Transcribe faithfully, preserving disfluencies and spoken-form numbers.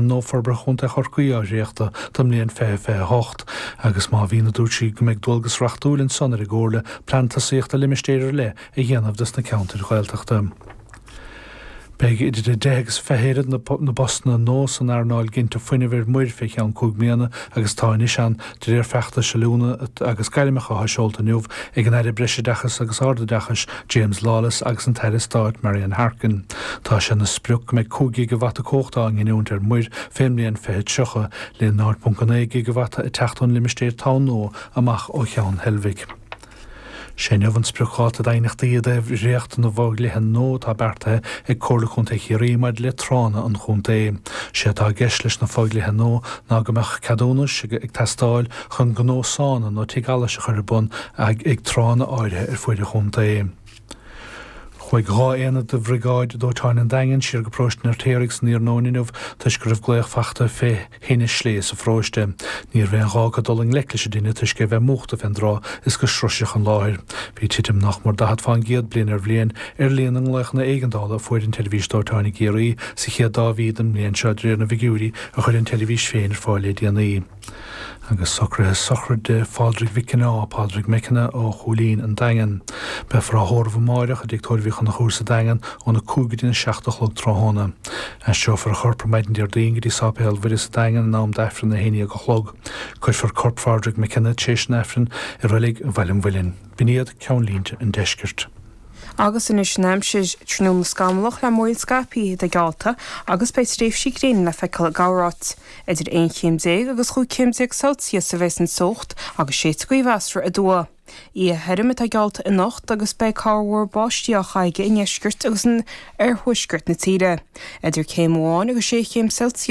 Nua Forbartha Chontae Chorcaí á dhréachtadh don mbliain fiche fiche hocht agus má bhíonn a dúirt sí go mbeidh dualgas reachtúil ansan ar an gComhairle plean tosaíochta limistéir ar leith a dhéanamh dos na ceantair Ghaeltachta. Beidh idir a deich agus fiche oiread na bpostanna nua san earnáil ginte fuinnimh ar muir fé cheann cúig bliana agus atá anois ann de réir feachtais oiliúna agus gairmeacha atá seolta inniu ag an Aire Breisoideachais agus Ardoideachais James Lawless agus an tAire Stáit Marian Harkin. Tá sé ina sprioc go mbeidh cúig ghigeavata cumhachta á nginiúint ar muir fén mbliain fiche tríocha, le náid ponc a naoi gigeavata ag teacht ón limistéar talún nua amach ó Cheann Heilbhic. Sé inniu an spriocdháta d'aighneachtaí i dtaobh dhréacht na bhfodhlíthe nua atá beartaithe ag Comhairle Contae Chiarraí maidir le tránna an chontae. Sé atá i gceist leis na fodhlíthe nua ná go mbeadh ceadúnais ag teastáil chun gnó sána nó tigh allais a chur ar bun ag tránna áirithe ar fuaid an chontae. Chuaigh dhá aonad de Bhriogáid Dóiteáin an Daingin siar go Paróiste an Fheirtéaraigh san iarnóin inniu toisc go raibh glaoch fachta fé thine sléibhe sa pharóiste. Ní raibh aon ghá acu dul i ngleic leis an dtine toisc é a bheith múchta fén dtráth is go sroiseadh an láthair. Bhí titim nach mór daichead fán gcéad bliain ar bhliain ar líon na nglaochanna éigeandála a fuair an tSeirbhís Dóiteáin i gCiarraí sa chéad dá mhí den mbliain seo de réir na bhfigiúirí a chuir an tseirbhís féin ar fáil le déanaí. Agus socruithe sochraide Phádraig Mhic Cionnáith, Pádraig McKenna ó Chúilín, An Daingean. Beifear á thórramh amáireach i dTigh Tórraimh Uí Chonchúir sa Daingean óna cúig go dtí na seacht a chlog tráthnóna. Aistreofar a chorp ar maidin Déardaoin go dtí Sáipéal Mhuire sa Daingean in am d'Aifreann a haon déag a chlog. Cuirfear corp Phádraig McKenna tar éis an Aifrinn i reilig Bhaile an Mhuilinn. B'in iad ceannlínte an deiscirt. Agus anois an aimsir tráthnóna scamallach le múraíl scaipthe atá geallta agus beidh tréimhsí gréine le feiceáil i gcorráit. Idir aon chéim déag agus chúig chéim déag Celsius a bheas an teocht agus séidfidh gaoth mheasartha aduaidh. Oíche thirim atá geallta anocht agus beidh corrmhúr báistí á chaitheamh i ndeisceart agus in oirthuaisceart na tíre. Idir céim amháin agus sé chéim Celsius